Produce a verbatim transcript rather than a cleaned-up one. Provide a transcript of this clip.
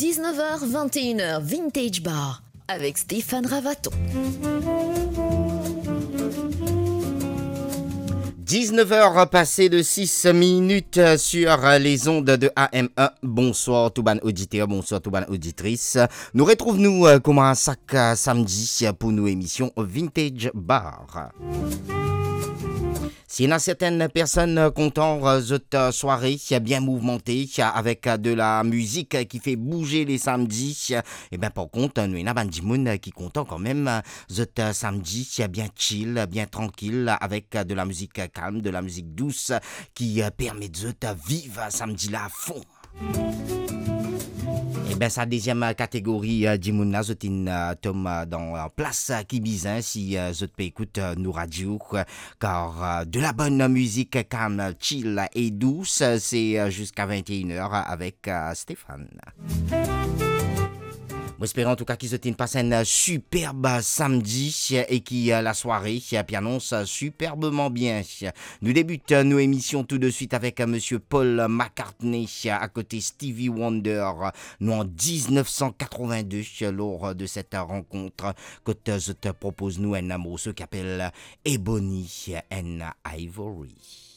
Dix-neuf heures, vingt et une heures, Vintage Bar avec Stéphane Ravaton. Dix-neuf heures passées de six minutes sur les ondes de A M un. Bonsoir tou bann oditer, bonsoir tou bann oditris. Nou retrouv nou, euh, kouma sak, euh, samdi, euh, pou nou emision Vintage Bar. Si ena sertenn personn, euh, kontan, euh, zot, euh, sware, euh, bien mouvmante, euh, avek, euh, de la mizik, euh, ki fer bouze le samdi, euh, e ben, par kont, euh, nou ena bann dimoun, euh, ki kontan kanmem, euh, zot, euh, samdi, euh, bien chill, euh, bien trankil, avek, euh, de la mizik, euh, kalm, de la mizik dous, euh, ki, euh, permet zot, euh, viv, euh, samdi la a fon. E ben, sa deziem, euh, kategori, euh, dimoun la, zot inn, euh, tom, euh, dan, euh, plas, euh, ki bizin, si, euh, zot pe ekout, euh, nou radio, euh, kar, euh, de la bonn mizik kalm, chill e dous, euh, se, euh, ziska vingt et une heures avek, euh, Stéphane. Mo espere antouka ki zot inn pas enn, euh, siperb samdi, euh, e ki, euh, lasware, euh, pe anons, euh, siperbman bien. Nou debit, euh, nou emision tou de swit avek, euh, Misie Paul McCartney, euh, akote Stevie Wonder, euh, nou an dix-neuf cent quatre-vingt-deux, euh, lor, euh, de set, euh, rankont, euh, kot, euh, zot, euh, propoz nou enn morso ki apel, euh, Ebony and Ivory.